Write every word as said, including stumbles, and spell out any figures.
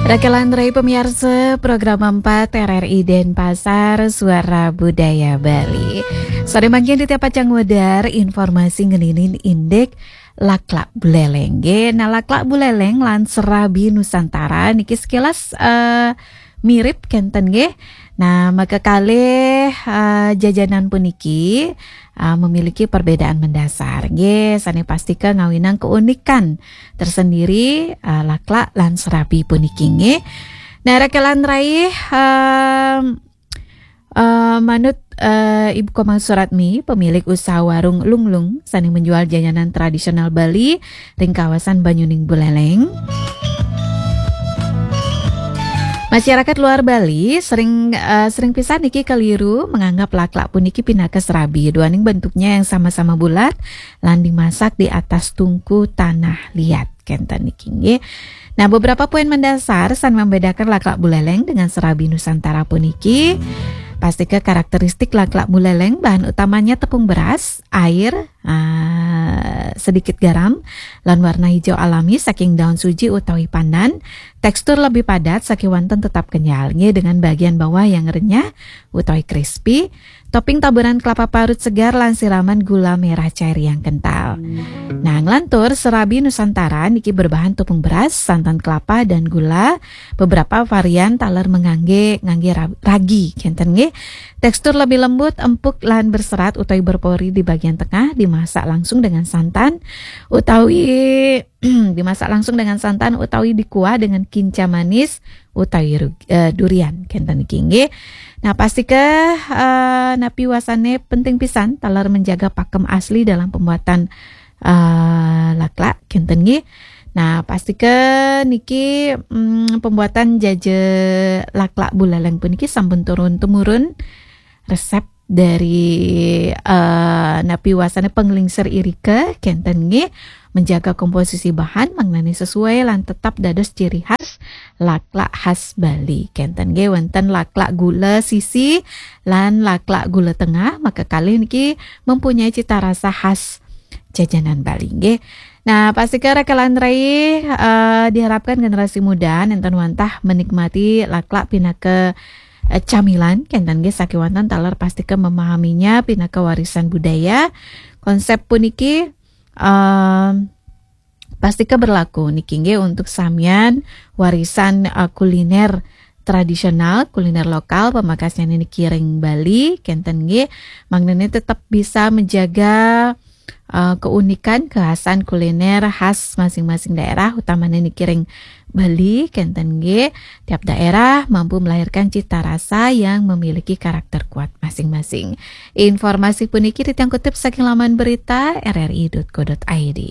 Rakelan rai pamiarsa, program empat R R I Denpasar, Suara Budaya Bali. Sore mangkin di tiap pacang wedar informasi ngeninin indik laklak buleleng nggih. Nah, laklak buleleng lan serabi Nusantara niki sekilas, eh, mirip kenten nggih. Nah, maka kalih, eh, jajanan puniki, eh, memiliki perbedaan mendasar nggih, sane pastika ngawinang keunikan tersendiri, eh, laklak lan serabi puniki nggih. Nah, rakelan rai, em, eh, manut, eh, Ibu Komang Suratmi, pemilik usaha warung Lunglung, sane menjual jajanan tradisional Bali ring kawasan Banyuning Buleleng. Masyarakat luar Bali sering, eh, sering pisan niki keliru menganggap laklak puniki pinaka serabi, duaning bentuknya yang sama-sama bulat lan dimasak di atas tungku tanah liat. Kenten niki nggih. Nah, beberapa poin mendasar sane membedakan laklak buleleng dengan serabi Nusantara puniki. Pastika karakteristik laklak buleleng, bahan utamanya tepung beras, air, ah, sedikit garam, lan warna hijau alami saking daun suji utawi pandan. Tekstur lebih padat saking wanten tetap kenyal nggih, dengan bagian bawah yang renyah utawi crispy. Topping taburan kelapa parut segar lan siraman gula merah cair yang kental. Nah, nglantur serabi Nusantara niki berbahan tepung beras, santan kelapa, dan gula. Beberapa varian taler mengangge, ngangge ra-, ragi, kenten nggih. Tekstur lebih lembut, empuk, lan berserat utawi berpori di bagian tengah, dimasak langsung dengan santan utawi dimasak langsung dengan santan utawi dikuah dengan kinca manis utawi ru-, eh, durian, kenten niki nggih. Nah, pastika, eh, napi wasane penting pisan taler menjaga pakem asli dalam pembuatan, eh, laklak, kenten nggih. Nah, pastika niki, mm, pembuatan jaja laklak buleleng puniki sampun turun temurun resep dari, eh, napi wasane penglingsir irika, kenten nggih, menjaga komposisi bahan mangnane sesuai lan tetap dados ciri khas laklak khas Bali, kenten nggih. Wenten laklak gula sisi lan laklak gula tengah, maka kalih niki mempunyai cita rasa khas jajanan Bali nggih. Nah, pastika rakelan rai, eh, diharapkan generasi muda nenten wantah menikmati laklak pinaka, eh, camilan, kenten nggih, saking wanten taler pastika memahaminya pinaka warisan budaya. Konsep puniki, em, pastika berlaku niki nggih untuk samian warisan, eh, kuliner tradisional, kuliner lokal, pamekasnyané niki ring Bali, kenten nggih. Mangdané tetap bisa menjaga, eh, keunikan, kekhasan kuliner khas masing-masing daerah, utamanya niki ring Bali, kenten nggih. Tiap daerah mampu melahirkan cita rasa yang memiliki karakter kuat masing-masing. Informasi puniki titiang kutip saking laman berita R R I dot co dot I D.